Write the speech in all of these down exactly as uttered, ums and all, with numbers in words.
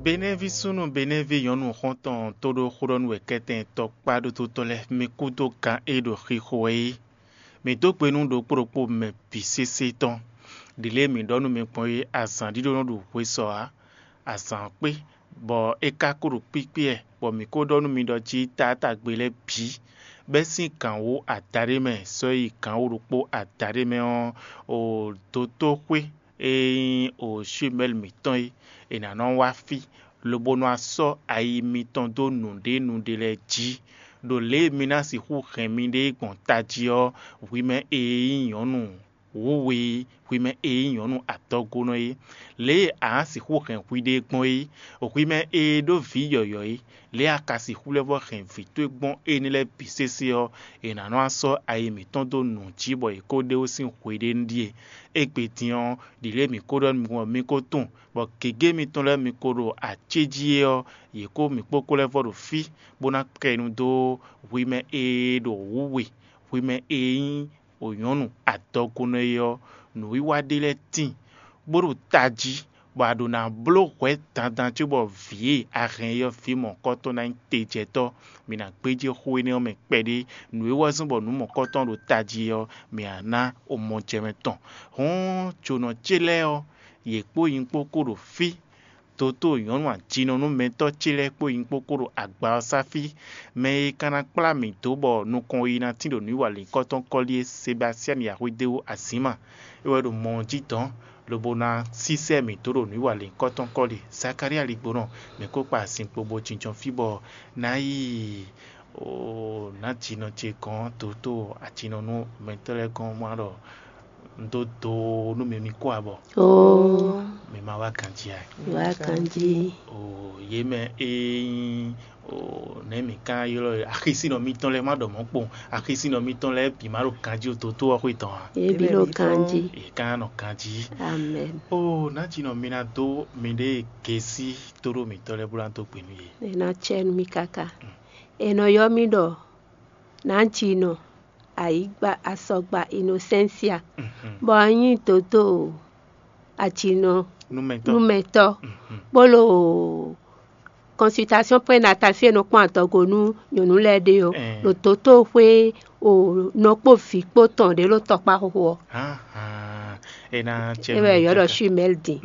Benɛ́ví súnnu Benɛ́ví nyɔ̌nu xɔ́ntɔn tó ɖó xó ɖɔ nú wɛ kɛ́tɛn tɔkpá ɖótótɔ́ lɛ́ɛ, mi kúdó kan e ɖo xixo wɛ é. Mǐ dó gbe nú ɖokpó ɖokpó mɛ bǐ sésé tɔn. Ɖi lě e mǐ ɖɔ nú mi gbɔn é, azǎn ɖíɖó nɔ ɖo hwe sɔ ǎ. Azǎn ɔ́ kpé, bɔ é ka ko ɖo kpíkpí wɛ, bɔ mǐ ko ɖɔ nú mi ɖɔ jí taátagbe lɛ́ɛ bǐ, bɛ́ sín gǎn wú adaɖé mɛ sɔ́ yi gǎn wú ɖokpó adaɖé mɛ ɔ́, o dotóxwé e nyí o Shumɛ́li mǐtɔn é, è nǎ nɔ wá fí, lobo nɔ wá sɔ́ ayi mitɔn dó nǔɖénúɖé lɛ́ɛ jí. Ɖo lě e mi ná sixú hɛn miɖée gbɔn tají ɔ́, hwi mɛ e nyí nyɔ̌nu wǔwe é, hwi mɛ e nyí nyɔ̌nu adɔgonɔ é, lě e a nǎ sixú hɛn hwiɖée gbɔn é, hwi mɛ e ɖó vǐ yɔ̌yɔ́ é, lě e a ka sixú lɛ́ vɔ́ hɛn vǐ towe gbɔn énɛ́ lɛ́ɛ bǐ sésé ɔ́, è nǎ nɔ wá sɔ́ ayi mǐtɔn dó nǔ jí bɔ è ko ɖe wú sín hweɖénu ɖíe. Égbé din ɔ́, ɖi lě e mǐ ko ɖɔ nú mi gbɔn ɔ́, mi ko tunwun, bɔ gěgé mitɔn lɛ́ɛ mi ko ɖo acéjí é ɔ́, yě kó mǐ kpókpó lɛ́ vɔ́ ɖo fí, bó ná kɛ nu dó hwi mɛ e ɖo wǔwe, hwi mɛ e nyí wǒnyɔ́nu adɔgunɔ é ɔ́, nǔwiwa ɖé lɛ́ɛ tíin, bó ɖo tají, bɔ a ɖǒ ná bló hwɛ̌ dandan cóbɔ vǐ e a hɛn é ɔ́, vǐ mɔ̌hunkɔtɔn ná nyí tejɛtɔ́. Mǐ ná gbéjé xó énɛ́ ɔ́ mɛ kpɛɖé. Nǔ e wɛ zɔ́n bɔ nǔ mɔ̌hunkɔtɔn ɖo tají é ɔ́, mǐ ná ná omɔjɛmɛ tɔn. Hɔ̌n, jǒnɔ ce lɛ́ɛ ɔ́, yě kpó nyí kpó kó ɖo fí. Dotó nyɔ̌nu ajinɔnúmɛtɔ́ ce lɛ́ɛ kpó nyí kpó kó ɖo agba ɔ́ sá fí. Mɛ e ka ná kplá mǐ dó bɔ nukɔn yi ná tín ɖo nǔwiwa lǐnkɔ́tɔn kɔ́li é, Sebastiani Yahwedéwu Azǐma, é wɛ ɖo mɔ ɔ́ jí dɔ̌n, lobo ná sísɛ́ mǐ dó ɖo nǔwiwa lǐnkɔ́tɔn kɔ́li. Zakalía ligbonɔ, mǐ kó kpa azinkpo bo jínjɔ́n fí bɔ ná yi o nǎjinɔ ce gɔ́n, dotó ajinɔnúmɛtɔ́ lɛ́ɛ gɔ́n má ɖɔ un dó do nú mi, mi kó abɔ. Oo, Mi ma wá ganjí a? Wá ganjí. O yě mɛ e nyí o nɛ̌ mǐ ka ylɔ́ axisínɔ mitɔn lɛ́ɛ má ɖɔ mɔ̌ kpowun. Axisínɔ mitɔn lɛ́ɛ bǐ má ɖo ganjí o dotó ɔ́ xwé tɔn a? Ebi ɖo ganjí. Yě ka nɔ ganjí. Amen. O nǎjinɔ mi ná dó miɖée gěsí tóɖó mǐtɔn lɛ́ɛ bó ná dó gbe nú yě. È nɔ cɛ nú mi káká. È nɔ ylɔ́ mì ɖɔ nǎjinɔ ayǐgba asɔgba Inosensia, bɔ un nyí dǒdó ajinɔ Numɛtɔ́. Numɛtɔ́, bó ɖo consultation prénatale fí e nɔ kpɔ́n adɔgo nú nyɔ̌nu lɛ́ɛ ɖe ɔ́, Ɛɛ. Ɖo dǒtóxwé o nɔ kpó vǐ kpó tɔn ɖě ɖo tɔkpá xóxó ɔ́. Hánhán, é ná cɛ É wɛ yɔ̌ ɖɔ Shumɛ́li din.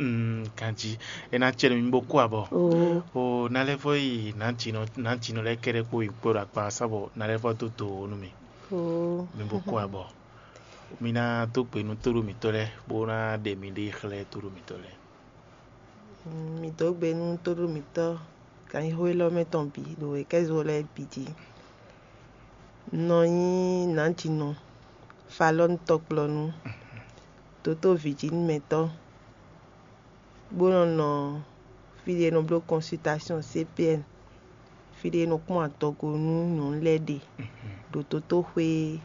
Ganjí, é ná cɛ nú mi bó kú abɔ. Oo. O ná lɛ́ vɔ yi nǎjinɔ nǎjinɔ lɛ́ɛ kɛ́ɖɛ́ kpó yi kpó ɖo akpa ɔ́ sá bɔ ná lɛ́ vɔ dó do nú mi. Oo. Mi bó kú abɔ. Mi ná dó gbe nú tóɖó mǐtɔn lɛ́ɛ bó ná ɖe miɖée xlɛ́ tóɖó mǐtɔn lɛ́ɛ. Mi dó gbe nú tóɖó mǐtɔn ganxixo élɔ́ mɛ tɔn bǐ ɖo wěkɛ́zo lɛ́ɛ bǐ jí. Un nɔ nyí nǎjinɔ Falɔ́nu tɔkplɔ́nú, dǒtó Vijinimɛtɔ́, bó nɔ nɔ fí ɖé e nɔ bló consultation C P N, fí ɖé e nɔ kpɔ́n adɔgo nú nyɔ̌nu lɛ́ɛ ɖe ɖo dótóxwé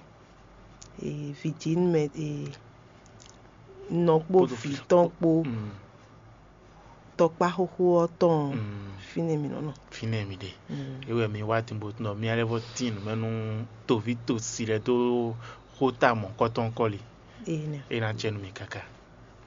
e Vijinimɛ e nɔ kpó Kpódó vǐ tɔn kpó tɔkpá xóxó ɔ́ tɔn fínɛ́ mǐ nɔ nɔ. Fínɛ́ mi ɖe. É wɛ mi wá din bó nɔ mì lɛ́ vɔ tín nǔ mɛ nú toví tosi lɛ́ɛ dó xóta mɔ̌kɔ́tɔn kɔ́li. Énɛ́. É ná jɛ nú mi káká.